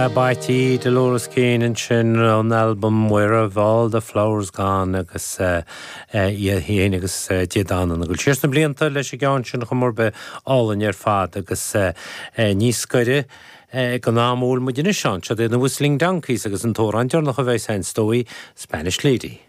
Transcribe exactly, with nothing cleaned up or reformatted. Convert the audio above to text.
B'ait Dolores Keane ansin ón albam Where Have All the Flowers Gone agus í féin agus Dé Danann ag dul siar sna blianta leis an gceann sin chomh mór álainn ar fad agus níos gaire don am a bhfuil muid anois ann, siod iad na Whistling Donkeys agus an t-amhrán deireanach a bheidh sa stóí Spanish Lady.